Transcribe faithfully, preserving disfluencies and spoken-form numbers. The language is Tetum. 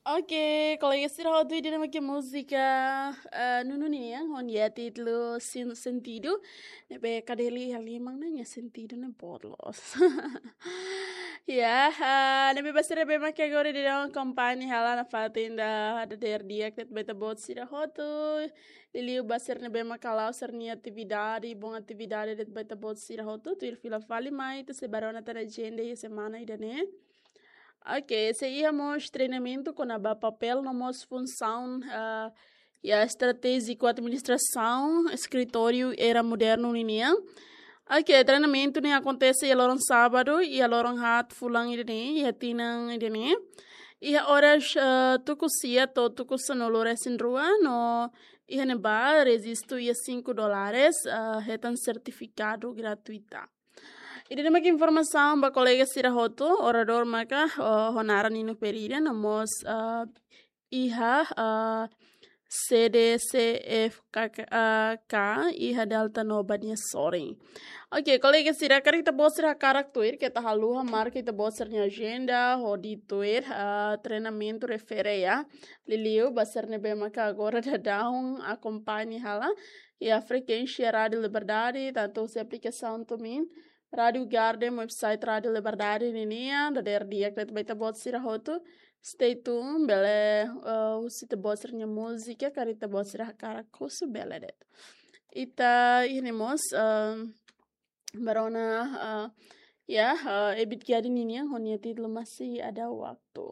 Oke, kolega sira hotu, ida-ne'e mak múzika, eh, Nunu nian, ho nia títulu Sin Sentidu. Ne'ebé Kadeli iha liman ne'e nia sentidu ne'e boot loos. Ya, ah, ne'ebé ba sira ne'ebé mak agora daudaun akompaña hela nafatin ida dadeer di'ak de'it ba ita-boot sira hotu. Liuliu ba sira ne'ebé mak hala'o sira-nia atividade, boot atividade de'it ba ita-boot sira hotu, tuir fila fali mai, atu sei bá rona tan agenda iha semana ida-ne'e. Oke, sei iha mós treinamentu kona-ba papél no mós funsaun, ah, iha estratéjiku administrasaun eskritóriu era modernu ninian. Oke, treinamentu ne'e akontese iha loron sábadu, iha loron haat fulan ida-ne'e, iha tinan ida-ne'e. Iha oras, ah, tuku sia to'o tuku sanulu resin rua, no iha ne'ebá rejistu iha cinco dólares, ah, hetan sertifikadu gratuita. Ida-ne'e mak informasaun ba kolega sira hotu, oradór maka, ah, ho naran Nino Pereira, no mós, ah, iha, ah, C D C F K K, ah, K, iha Delta Nova nia sorin. Oke, kolega sira, karik ita-boot sira hakarak tuir, keta haluha marka ita-boot sira-nia agenda, hodi tuir, ah, treinamentu refere ya. Liuliu ba sira ne'ebé maka agora daudaun akompaña hela iha frekuénsia Rádiu Liberdade, tantu husi aplikasaun TuneIn, Rádiu Garden, website Rádiu Liberdade ninian, dadeer di'ak de'it ba ita-boot sira hotu. Stay tuned, bele, eh, husu ita-boot sira-nia múzika, karik ita-boot sira hakarak husu bele de'it. Ita iha ne'e mós, eh, bá rona, eh, ya, eh, Ebit Kiadi ninian, ho nia títulu Masih Ada Waktu.